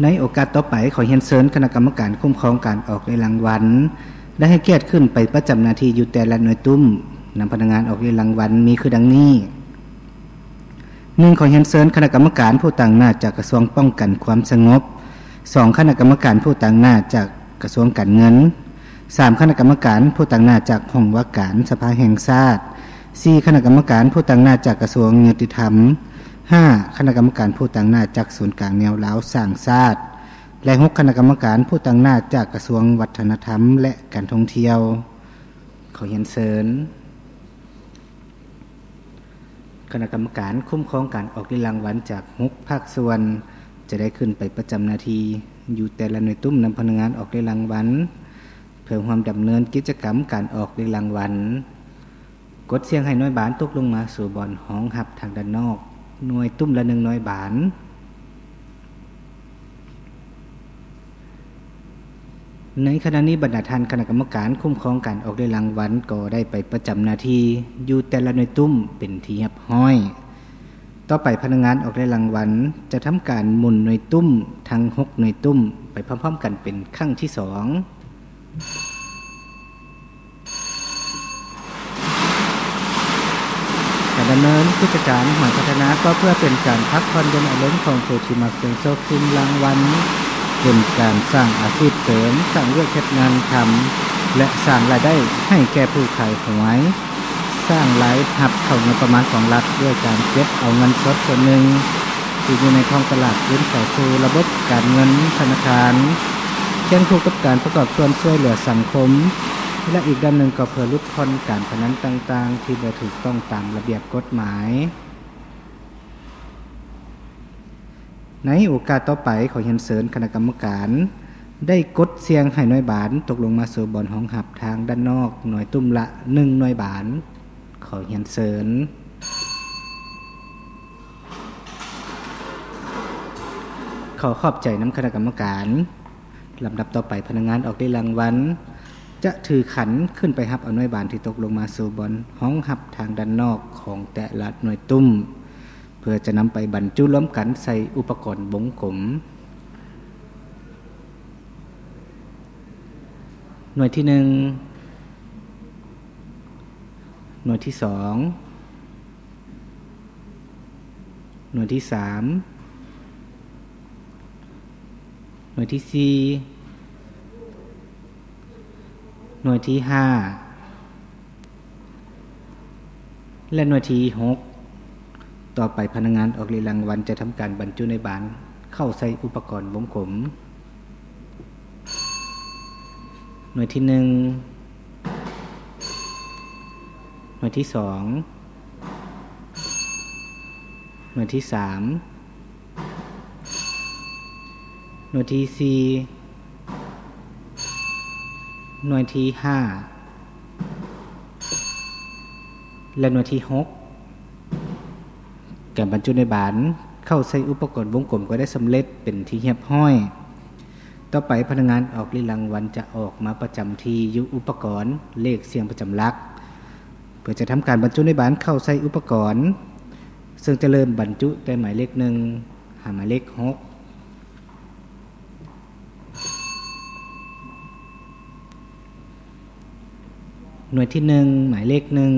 ໃນໂອກາດຕໍ່ໄປ, ຂໍຮຽນເຊີນຄະນະກຳມະການຄຸ້ມຄອງການອອກເລກລາງວັນ ໄດ້ໃຫ້ກຽດຂຶ້ນໄປປະຈຳໜ້າທີ່ຢູ່ແຕ່ລະໜ່ວຍຕຸ້ມ ນຳພະນັກງານອອກເລກລາງວັນມີຄືດັ່ງນີ້: ໜຶ່ງ ຂໍຮຽນເຊີນຄະນະກຳມະການຜູ້ຕາງໜ້າຈາກກະຊວງປ້ອງກັນຄວາມສະຫງົບ, ສອງ ຄະນະກຳມະການຜູ້ຕາງໜ້າຈາກກະຊວງການເງິນ, ສາມ ຄະນະກຳມະການຜູ້ຕາງໜ້າຈາກຫ້ອງວ່າການສະພາແຫ່ງຊາດ, ສີ່ ຄະນະກຳມະການຜູ້ຕາງໜ້າຈາກກະຊວງຍຸຕິທຳ, ຫ້າ ຄະນະກຳມະການຜູ້ຕາງໜ້າຈາກສູນກາງແນວລາວສ້າງຊາດ ແລະ ຫົກ ຄະນະກຳມະການຜູ້ຕາງໜ້າຈາກກະຊວງວັດທະນະທຳ ແລະ ການທ່ອງທ່ຽວ. ຂໍຮຽນເຊີນ ຄະນະກຳມະການຄຸ້ມຄອງການອອກເລກລາງວັນຈາກຫົກພາກສ່ວນ ຈະໄດ້ຂຶ້ນໄປປະຈຳໜ້າທີ່ຢູ່ແຕ່ລະໜ່ວຍຕຸ້ມນຳພະນັກງານອອກເລກລາງວັນ ເພື່ອຮ່ວມດຳເນີນກິດຈະກຳການອອກເລກລາງວັນ. ກົດສ່ຽງໃຫ້ໜ່ວຍບານຕົກລົງມາສູ່ບ່ອນຮອງຮັບທາງດ້ານນອກ, ໜ່ວຍຕຸ້ມລະໜຶ່ງໜ່ວຍບານ. ໃນຂະນະນີ້, ບັນດາທ່ານຄະນະກຳມະການຄຸ້ມຄອງການອອກເລກລາງວັນກໍໄດ້ໄປປະຈຳໜ້າທີ່ຢູ່ແຕ່ລະໜ່ວຍຕຸ້ມເປັນທີ່ຮຽບຮ້ອຍ. ຕໍ່ໄປ, ພະນັກງານອອກເລກລາງວັນຈະທຳການໝູນໜ່ວຍຕຸ້ມທັງຫົກໜ່ວຍຕຸ້ມໄປພ້ອມໆກັນເປັນຄັ້ງທີສອງ. ການດຳເນີນກິດຈະການຫອຍພັດທະນາກໍເພື່ອເປັນການພັກຜ່ອນຢ່ອນອາລົມຂອງຜູ້ທີ່ມັກສ່ຽງໂຊກສ່ຽງລາງວັນ, ເປັນການສ້າງອາຊີບເສີມ, ສ້າງວຽກເຮັດງານທຳ ແລະ ສ້າງລາຍໄດ້ໃຫ້ແກ່ຜູ້ຂາຍຫວຍ, ສ້າງລາຍຮັບເຂົ້າງົບປະມານຂອງລັດດ້ວຍການເກັບເອົາເງິນສົດສ່ວນໜຶ່ງທີ່ຢູ່ໃນທ້ອງຕະຫຼາດຄືນເຂົ້າສູ່ລະບົບການເງິນທະນາຄານ, ຄຽງຄູ່ກັບການປະກອບສ່ວນຊ່ວຍເຫຼືອສັງຄົມ ແລະ ອີກດ້ານໜຶ່ງກໍເພື່ອຫຼຸດຜ່ອນການພະນັນຕ່າງໆທີ່ບໍ່ຖືກຕ້ອງຕາມລະບຽບກົດໝາຍ. ໃນໂອກາດຕໍ່ໄປ, ຂໍຮຽນເຊີນຄະນະກຳມະການໄດ້ກົດສ່ຽງໃຫ້ໜ່ວຍບານຕົກລົງມາສູ່ບ່ອນຮອງຮັບທາງດ້ານນອກ, ໜ່ວຍຕຸ້ມລະໜຶ່ງໜ່ວຍບານ. ຂໍຮຽນເຊີນ. ຂໍຂອບໃຈນຳຄະນະກຳມະການ. ລຳດັບຕໍ່ໄປ, ພະນັກງານອອກເລກລາງວັນຈະຖືຂັນຂຶ້ນໄປຮັບເອົາໜ່ວຍບານທີ່ຕົກລົງມາສູ່ບ່ອນຮອງຮັບທາງດ້ານນອກຂອງແຕ່ລະໜ່ວຍຕຸ້ມ ເພື່ອຈະນຳໄປບັນຈຸລວມກັນໃສ່ອຸປະກອນວົງກົມ. ໜ່ວຍທີໜຶ່ງ, ໜ່ວຍທີສອງ, ໜ່ວຍທີສາມ, ໜ່ວຍທີສີ່, ໜ່ວຍທີຫ້າ ແລະ ໜ່ວຍທີຫົກ. ຕໍ່ໄປ, ພະນັກງານອອກເລກລາງວັນຈະທຳການບັນຈຸໜ່ວຍບານເຂົ້າໃສ່ອຸປະກອນວົງກົມ. ໜ່ວຍທີໜຶ່ງ, ໜ່ວຍທີສອງ, ໜ່ວຍທີສາມ, ໜ່ວຍທີສີ່, ໜ່ວຍທີຫ້າ ແລະ ໜ່ວຍທີຫົກ. ການບັນຈຸໜ່ວຍບານເຂົ້າໃສ່ອຸປະກອນວົງກົມກໍໄດ້ສຳເລັດເປັນທີ່ຮຽບຮ້ອຍ. ຕໍ່ໄປ, ພະນັກງານອອກເລກລາງວັນຈະອອກມາປະຈຳທີ່ຢູ່ອຸປະກອນເລກສ່ຽງປະຈຳຫຼັກ ເພື່ອຈະທຳການບັນຈຸໜ່ວຍບານເຂົ້າໃສ່ອຸປະກອນ, ເຊິ່ງຈະເລີ່ມບັນຈຸແຕ່ໝາຍເລກໜຶ່ງຫາໝາຍເລກຫົກ. ໜ່ວຍທີໜຶ່ງ, ໝາຍເລກໜຶ່ງ.